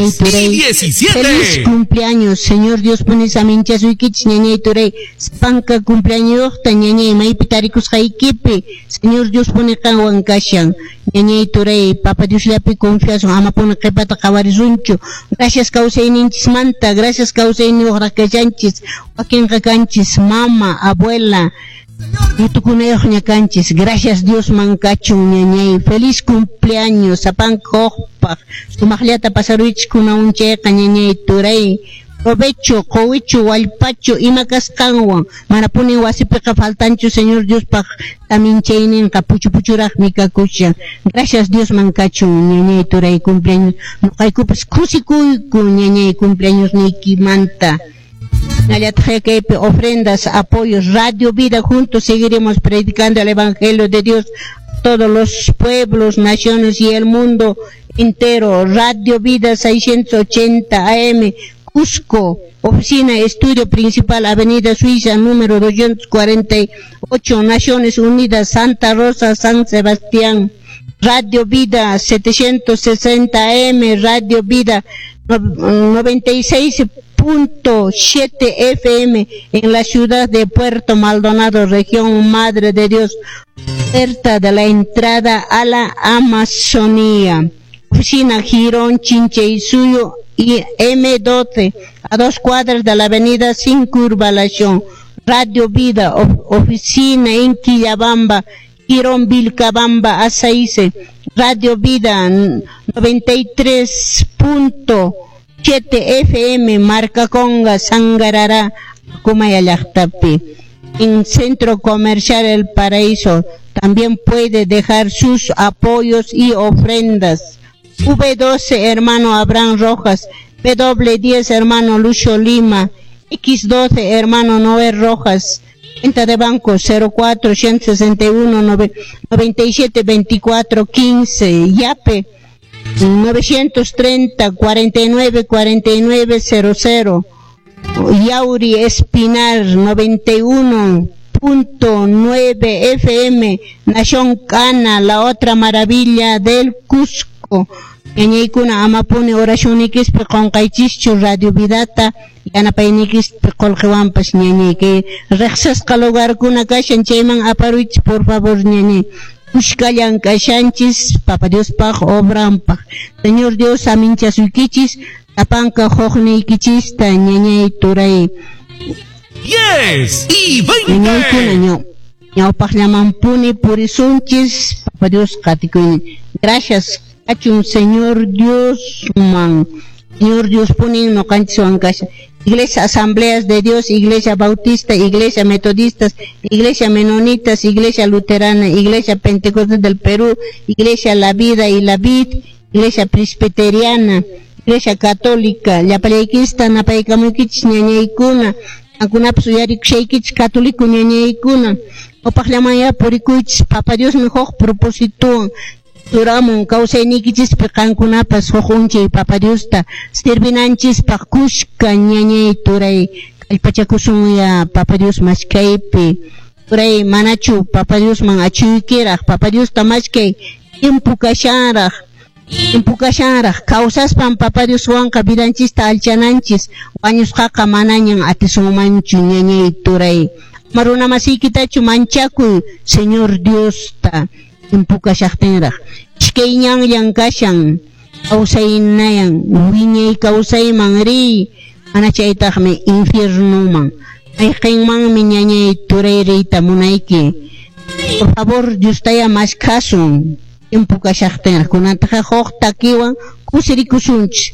Ñañay y turay. 17. Feliz cumpleaños, Señor Dios puni saminchasuykichis, ñañay turay. Sapanka cumpleañosta, ñañay, maypi tarikusqaykipi, Señor Dios puni qanwan kashan. Ñañay turay, Papa Diosllapi confiasun, ama puni qhipata qhawarisunchu. Gracias kawsayninchismanta, gracias kawsayniyuqraq kashanchis, wakinqa kanchis, mama, abuela, Yutukunayuqña kanchis. Gracias Diosman kachun, ñañay. Feliz cumpleaños, sapanka huqpaq. Sumaqllata pasaruychis kunan chayqa, ñañay turay. Provecho, quwichu, wallpachu, ima kasqanwan. Mana puni wasipiqa faltanchu Señor Diospaq saminchayninqa puchu puchuraqmi kakushan. Gracias Diosman kachun, ñañay turay, cumpleaños. Nuqaykupas kusikuyku, ñañay, cumpleaños niykimanta. Hinallataq kaypi ofrendas, apoyos, Radio Vida, juntos seguiremos predicando el Evangelio de Dios a todos los pueblos, naciones y el mundo entero. Radio Vida 680 AM, Cusco, oficina, estudio principal, Avenida Suiza, número 248, Naciones Unidas, Santa Rosa, San Sebastián. Radio Vida 760 AM, Radio Vida 96.7 FM en la ciudad de Puerto Maldonado, región Madre de Dios, puerta de la entrada a la Amazonía. Oficina Girón, Chinchaysuyo y M12, a 2 cuadras de la avenida Circunvalación. Radio Vida, oficina en Quillabamba, Girón Vilcabamba, A6. Radio Vida 93.7 FM, Marca Conga, Sangarará, Kumaya llaqtapi. En Centro Comercial El Paraíso también puede dejar sus apoyos y ofrendas. V12, hermano Abraham Rojas. W10, hermano Lucio Lima. X12, hermano Noé Rojas. Cuenta de banco 04 161 97 24 15. Yape 930 49 49 00. Yauri Espinar 91.9 FM, Nación Cana, la otra maravilla del Cusco. Ñañaykuna amapuni oracionnikispi qunqaychischu Radio Vidata, yanapaynikispi qullqiwanpas, ñañay, kay riqsisqa lugarkuna kashan chayman aparuychis por favor, ñañay. Kushkallan kashanchis Papa Diospaq obranpaq. Señor Dios saminchasuykichis, sapanka huqniykichista, ñañay turay. 10 y 20. Ñañaykuna ñawpaqllamanpuni purisunchis, Papa Dios qatikuynin. Gracias kachun Señor Dios man. Señor Dios punin nuqanchiswan kashan. Iglesia Asambleas de Dios, Iglesia Bautista, Iglesia Metodistas, Iglesia Menonitas, Iglesia Luterana, Iglesia Pentecostal del Perú, Iglesia La Vida y la Vid, Iglesia Presbiteriana, Iglesia Católica, llapallaykista napaykamuykichis ñañaykuna, qankunapas uyarikushaykichis católico ñañaykuna, upaqllamanya purikuychis, Papa Diosmi huk propósitowan churamun kawsayniykichispi qankunapas huk unchay Papa Diosta sirvinanchispaq kushka ñañay turay kallpachakusunya Papa Dios mashkaypi. Turay manachu Papa Diosman achuykiraq, Papa Diosta mashkay tiempo kashanraq, tiempo kashanraq kawsaspan Papa Dioswanqa vidanchista alchananchis, wañusqaqa manañan atisunmanchu ñañay turay. Ama runa masiykitachu manchakuy Señor Diosta tiempo kashaqtinraq. Ishkay ñanllan kashan kawsaynayan wiñay kawsayman riy, mana chaytaqmi infiernuman. Mayqinmanmi ñañay turay riyta munayki. Por favor, Diostaya mashkhasun tiempo kashaqtinraq. Kunantaqa huk takiwan kusirikusunchis.